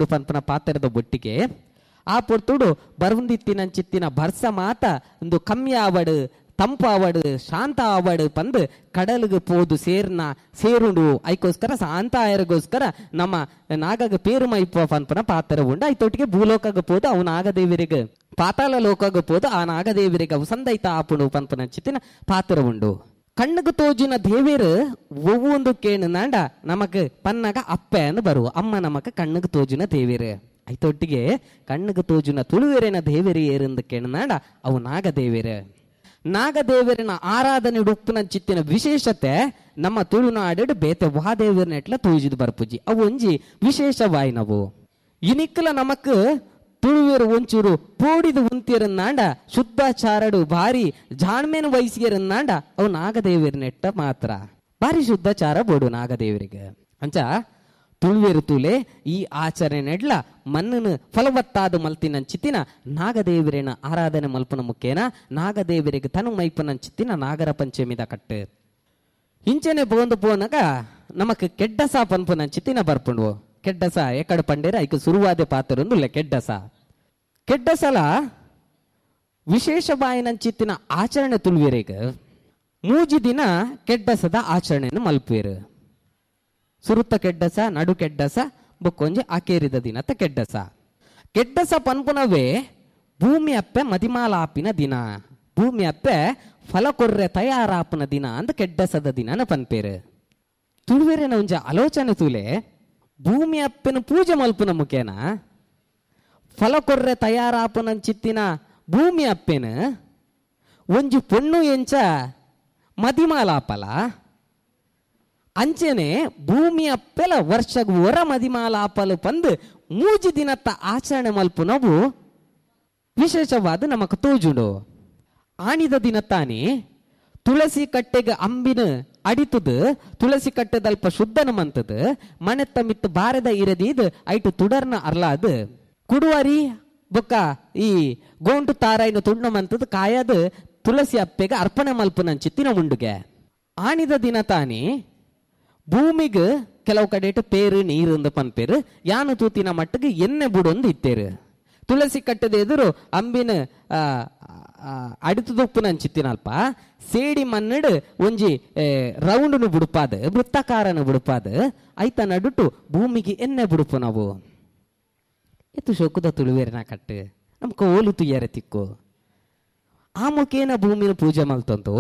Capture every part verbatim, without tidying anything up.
ಬರ್ಪುಂಡು ಪನ್ಪುನ ಪಾತ್ರದ ಬೊಟ್ಟಿಗೆ ಆ ಪೊರ್ತುಡು ಬರುಂದಿತ್ತಿನಂಚಿತ್ತಿನ ಬರ್ಸ ಮಾತ ಒಂದು ಕಮ್ಮಿ ಆವಡು ತಂಪು ಆವಡು ಶಾಂತ ಆವಡು ಪಂದು ಕಡಲಿಗೆ ಪೋದು ಸೇರ್ನ ಸೇರುಂಡು ಐಕೋಸ್ಕರ ಶಾಂತ ಆಯರಿಗೋಸ್ಕರ ನಮ್ಮ ನಾಗಗ ಪೇರು ಮೈಪ ಪನ್ಪುನ ಪಾತ್ರ ಉಂಡು. ಐತೊಟ್ಟಿಗೆ ಭೂಲೋಕಗ ಪೋದು ಅವು ನಾಗದೇವರಿಗೆ ಪಾತಾಳ ಲೋಕಗ ಪೋದು ಆ ನಾಗದೇವರಿಗೆ ಅವು ಸಂದೈತ ಆಪುಣು ಪನ್ಪುನ ಚಿತ್ತಿನ ಪಾತ್ರ ಉಂಡು. ಕಣ್ಣುಗು ತೋಜಿನ ದೇವೇರು ಒವ್ವೊಂದು ಕೇಣು ನಾಂಡ ನಮಕ್ ಪನ್ನಗ ಅಪ್ಪೆ ಅಂದ್ ಬರುವ ಅಮ್ಮ ನಮಕ್ ಕಣ್ಣುಗು ತೋಜಿನ ದೇವೇರು. ಐತೊಟ್ಟಿಗೆ ಕಣ್ಣುಗು ತೋಜಿನ ತುಳುವೆರೆನ ದೇವೇರು ಏರೆಂದು ಕೇಣು ಅವು ನಾಗದೇವೇರು. ನಾಗದೇವರಿನ ಆರಾಧನೆ ಉಪ್ಪುನ ಚಿತ್ತಿನ ವಿಶೇಷತೆ ನಮ್ಮ ತುಳುನಾಡು ಬೇತೆ ವಾದೇವರನೆಟ್ಲ ತೋಜಿದ್ ಬರ್ಪುಜಿ ಅವು ಒಂಜಿ ವಿಶೇಷವಾಯಿನವು. ಇನಿಕ್ಕಲ ನಮಕ್ ತುಳುವೆರು ಒಂಚೂರು ಪೋಡಿದ ಉಂತಿರನ್ನಾಂಡ ಶುದ್ಧಾಚಾರಡು ಭಾರಿ ಜಾಣ್ಮೇನು ವಯಸ್ಸಿಗೆರನ್ನಾಂಡ ಅವು ನಾಗದೇವರನೆಟ್ಟ ಮಾತ್ರ ಭಾರಿ ಶುದ್ಧಾಚಾರ ಬೋಡು ನಾಗದೇವರಿಗೆ. ಅಂಚ ತುಳುವೆರು ತುಲೆ ಈ ಆಚರಣೆ ನೆಡ್ಲ ಮಣ್ಣನ್ನು ಫಲವತ್ತಾದ ಮಲ್ತಿನ ಚಿತ್ತಿನ ನಾಗದೇವರಿನ ಆರಾಧನೆ ಮಲ್ಪನ ಮುಖೇನ ನಾಗದೇವರಿಗೆ ತನು ಮೈಪನ ಚಿತ್ತಿನ ನಾಗರ ಪಂಚಮಿದ ಕಟ್ಟು ಇಂಚನೆ ಪೋಂದು ಪೋನಗ ನಮಕ್ ಕೆಡ್ಡಸ ಪನ್ಪುನ ಚಿತ್ತಿನ ಬರ್ಪುಂಡು. ಕೆಡ್ಡಸ ಎಕಡೆ ಪಂಡೇರ ಐಕ ಸುರುವಾದ ಪಾತ್ರೊಂದುಲ್ಲ ಕೆಡ್ಡಸ. ಕೆಡ್ಡಸಲ ವಿಶೇಷ ಬಾಯಿನಂಚಿತ್ತಿನ ಆಚರಣೆ ತುಳುವೆರೆಗ್ ಮೂಜಿ ದಿನ ಕೆಡ್ಡಸದ ಆಚರಣೆಯನ್ನು ಮಲ್ಪುವೆರು. ಸುರುತ್ತ ಕೆಡ್ಡಸ, ನಡು ಕೆಡ್ಡಸ, ಬೊಕ್ಕೊಂಜಿ ಅಕೇರಿದ ದಿನತ ಕೆಡ್ಡಸ. ಕೆಡ್ಡಸ ಪನ್ಪುನವೇ ಭೂಮಿ ಅಪ್ಪೆ ಮದಿಮಾಲಾಪಿನ ದಿನ, ಭೂಮಿ ಅಪ್ಪೆ ಫಲ ಕೊರ್ರೆ ತಯಾರಾಪುನ ದಿನ ಅಂದ ಕೆಡ್ಡಸದ ದಿನನ ಪನ್ಪೇರು. ತುಳುವೆರೆನ ಒಂಜಿ ಆಲೋಚನೆ ತೂಲೆ ಭೂಮಿ ಅಪ್ಪೆನ ಪೂಜೆ ಮಲ್ಪುನ ಮುಖೇನ ಫಲ ಕೊರ್ರೆ ತಯಾರಾಪುನ ಚಿತ್ತಿನ ಭೂಮಿ ಅಪ್ಪೆನ ಒಂಜಿ ಪೊಣ್ಣು ಎಂಚ ಮದಿಮಾಲಾಪಲ ಅಂಚೆನೆ ಭೂಮಿ ಅಪ್ಪೆಲ ವರ್ಷಗ್ ಹೊರ ಮದಿಮಾಲಾಪಲು ಪಂದು ಮೂಜಿ ದಿನತ್ತ ಆಚರಣೆ ಮಲ್ಪುನವು ವಿಶೇಷವಾದ ನಮಕ್ ತೋಜುಂಡು. ಆಣಿದ ದಿನ ತಾನೇ ತುಳಸಿ ಕಟ್ಟೆಗೆ ಅಂಬಿನ ಅಡಿತದು ತುಳಸಿ ಕಟ್ಟೆದಲ್ಪ ಶುದ್ಧನ ಮಂತದು ಮನೆತ್ತ ಮಿತ್ತು ಬಾರದ ಇರದೀದ್ ಐಟು ತುಡರ್ನ ಅರ್ಲಾದು ಕುಡುವರಿ ಬೊಕ್ಕ ಈ ಗೋಂಟು ತಾರಾಯಿನ ತುಂಡು ಮಂತದು ಕಾಯದು ತುಳಸಿ ಅಪ್ಪೆಗೆ ಅರ್ಪಣೆ ಮಲ್ಪುನ ಚಿತ್ತಿನ ಉಂಡುಗೆ. ಆಣಿದ ದಿನ ತಾನೇ ಭೂಮಿಗೆ ಕೆಲವು ಕಡೆಟು ಪೇರು ನೀರು ಅಂದ ಪನ್ಪೇರು ಯಾನು ತೂತಿನ ಮಟ್ಟಿಗೆ ಎಣ್ಣೆ ಬುಡೊಂದು ಇತ್ತೇರು. ತುಳಸಿ ಕಟ್ಟದ ಎದುರು ಅಂಬಿನ ಅಡಿತದೊಪ್ಪುನ ಅಂಚಿತ್ತಿನಲ್ಪ ಸೇಡಿ ಮನ್ನಡು ಒಂಜಿ ರೌಂಡ್ನು ಬುಡುಪಾದ ವೃತ್ತಾಕಾರನ ಬುಡುಪಾದ ಐತ ನಡುಟು ಭೂಮಿಗೆ ಎಣ್ಣೆ ಬುಡುಪು ನಾವು. ಎತ್ತು ಶೋಕದ ತುಳುವೇರಿನ ಕಟ್ಟು ನಮ್ಕ ಓಲು ತುಯ್ಯಾರೆ ತಿಕ್ಕು. ಆ ಮುಖೇನ ಭೂಮಿನ ಪೂಜೆ ಮಲ್ತಂತು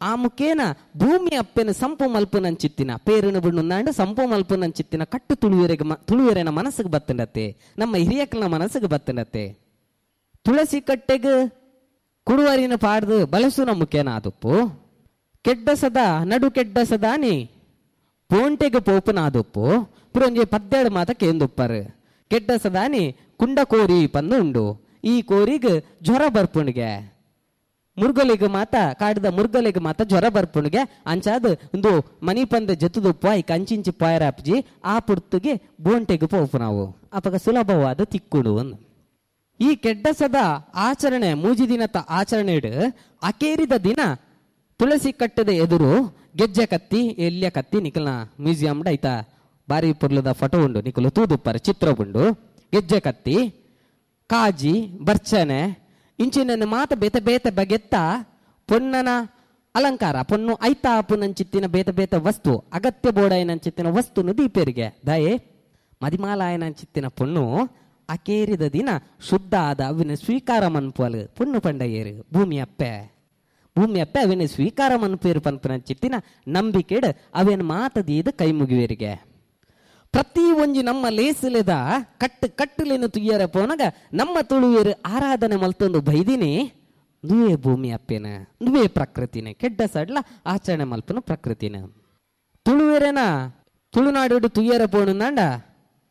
ಆ ಮುಖೇನ ಭೂಮಿ ಅಪ್ಪೆನ ಸಂಪು ಮಲ್ಪುನಂಚಿತ್ತಿನ ಪೇರನ ಬುಣ್ಣುಂದಾಂಡ ಸಂಪು ಮಲ್ಪುನಂಚಿತ್ತಿನ ಕಟ್ಟು ತುಳುವೆರೆಗೆ ತುಳುವೆರೆನ ಮನಸ್ಸಿಗೆ ಬತ್ತಂಡತ್ತೆ, ನಮ್ಮ ಹಿರಿಯಕ್ಕನ ಮನಸ್ಸಿಗೆ ಬತ್ತಂಡತ್ತೆ. ತುಳಸಿ ಕಟ್ಟೆಗೆ ಕುಡುವರಿನ ಪಾಡ್ದು ಬಲಸುನ ಮುಖೇನ ಆದುಪ್ಪು ಕೆಡ್ಡಸದ ನಡು ಕೆಡ್ಡಸದಾನಿ ಪೋಂಟೆಗೆ ಪೋಪುನ ಆದುಪ್ಪು ಪುರೊಂಜಿ ಪದ್ದೇಡು ಮಾತ ಕೇಂದುಪ್ಪರು. ಕೆಡ್ಡಸದಾನಿ ಕುಂಡ ಕೋರಿ ಪಂದು ಉಂಡು ಈ ಕೋರಿಗೆ ಜ್ವರ ಬರ್ಪುಣಿಗೆ ಮುರುಗಲಿಗೆ ಮಾತ ಕಾಡಿದ ಮುರುಗಲಿಗೆ ಮಾತ ಜ್ವರ ಬರ್ಪುಣಿಗೆ ಅಂಚಾದ ಒಂದು ಮನಿ ಪಂದ ಜೊತದುಪ್ಪ ಈ ಕಂಚಿಂಚಿ ಪಾಯರಾಪ್ಜಿ ಆ ಪುರ್ತುಗೆ ಬೋಂಟೆಗೆ ಪೋಪು ನಾವು ಅಪಗ ಸುಲಭವಾದ ತಿಕ್ಕುಡು. ಈ ಕೆಡ್ಡಸದ ಆಚರಣೆ ಮೂಜಿ ದಿನದ ಆಚರಣೆ ಅಕೇರಿದ ದಿನ ತುಳಸಿ ಕಟ್ಟದ ಎದುರು ಗೆಜ್ಜೆ ಕತ್ತಿ ಎಲ್ಲಿಯ ಕತ್ತಿ ನಿಕಲ್ನ ಮ್ಯೂಸಿಯಂ ಐತಾ ಬಾರಿ ಪೊರ್ಲದ ಫೋಟೋ ಉಂಡು ನಿಕಲು ತೂದುಪ್ಪರ ಚಿತ್ರ ಉಂಡು. ಗೆಜ್ಜೆ ಕತ್ತಿ ಕಾಜಿ ಬರ್ಚನೆ ಇಂಚಿನ ಮಾತ ಬೇತೆ ಬೇತೆ ಬಗೆತ್ತ ಪೊನ್ನನ ಅಲಂಕಾರ ಪೊನ್ನು ಐತಾ ಪುನಂಚಿತ್ತಿನ ಬೇತೆ ಬೇತೆ ವಸ್ತು ಅಗತ್ಯ ಬೋಡಾಯನಂಚಿತ್ತಿನ ವಸ್ತುನು ದೀಪೇರಿಗೆ ದಯೆ ಮದಿಮಾಲಾಯನಂಚಿತ್ತಿನ ಪೊಣ್ಣು ಅಕೇರಿದ ದಿನ ಶುದ್ಧ ಆದ ಅವಿನ ಸ್ವೀಕಾರ ಮನ್ಪುವಲು ಪೊಣ್ಣು ಪಂಡಯ್ಯರು ಭೂಮಿ ಅಪ್ಪೆ ಭೂಮಿ ಅಪ್ಪೆ ಅವಿನ ಸ್ವೀಕಾರ ಮನ್ಪೇರು ಪನ್ಪುನಂಚಿತ್ತಿನ ನಂಬಿಕೆಡ್ ಅವೇನು ಮಾತದೀದ ಕೈ ಮುಗಿವೇರಿಗೆ. ಪ್ರತಿ ಒಂಜಿ ನಮ್ಮ ಲೇಸಲೆದ ಕಟ್ಟು ಕಟ್ಟುಲೇನು ತುಯ್ಯರ ಪೋನಗ ನಮ್ಮ ತುಳುವೇರು ಆರಾಧನೆ ಮಲ್ತೊಂದು ಬೈದಿನಿ ನುವೇ ಭೂಮಿ ಅಪ್ಪೇನ ನುವೇ ಪ್ರಕೃತಿನ ಕೆಡ್ಡ ಸಡ್ಲ ಆಚರಣೆ ಮಲ್ಪನ ಪ್ರಕೃತಿನ. ತುಳುವೇರೇನ ತುಳುನಾಡು ತುಯ್ಯರ ಪೋಣಂದಾಂಡ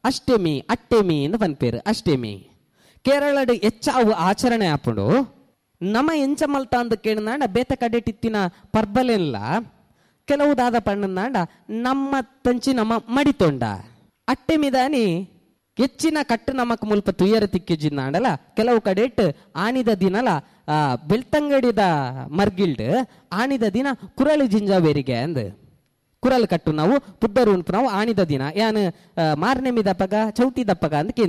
ಅಷ್ಟಮಿ ಅಟ್ಟೆಮಿ ಎಂದು ಪನ್ಪೇರು. ಅಷ್ಟಮಿ ಕೇರಳಡು ಹೆಚ್ಚಾವು ಆಚರಣೆ ಆಪುಂಡು. ನಮ್ಮ ಎಂಚ ಮಲ್ತ ಅಂದ ಕೇಳಿದಾಂಡ ಬೇತ ಕಡೆಟಿತ್ತಿನ ಪರ್ಬಲೆಲ್ಲ ಕೆಲವು ದಾದ ಪಣ್ಣಂದಾಂಡ ನಮ್ಮ ತಂಚಿ ನಮ್ಮ ಮಡಿತೊಂಡ ಅಟ್ಟೆಮಿದಾನಿ ಹೆಚ್ಚಿನ ಕಟ್ಟು ನಮಕ್ ಮುಲ್ಪ ತುಯ್ಯರ ತಿಕ್ಕಿಜಿಂದಾಂಡಲ ಕೆಲವು ಕಡೆಟ್ ಆನಿದ ದಿನಲ ಆ ಬೆಳ್ತಂಗಡಿದ ಮರ್ಗಿಲ್ಡ್ ಆನಿದ ದಿನ ಕುರಳು ಜಿಂಜಾವೇರಿಗೆ ಅಂದ್ ಕುರಲ್ ಕಟ್ಟು ನಾವು ಪುದ್ದರು ಉಂಟು ನಾವು ಆನಿದ ದಿನ ಯಾನ್ ಮಾರನೆಮಿ ದಪ್ಪಗ ಚೌತಿ ದಪ್ಪಗ ಅಂತ ಕೇಂದ್ರ.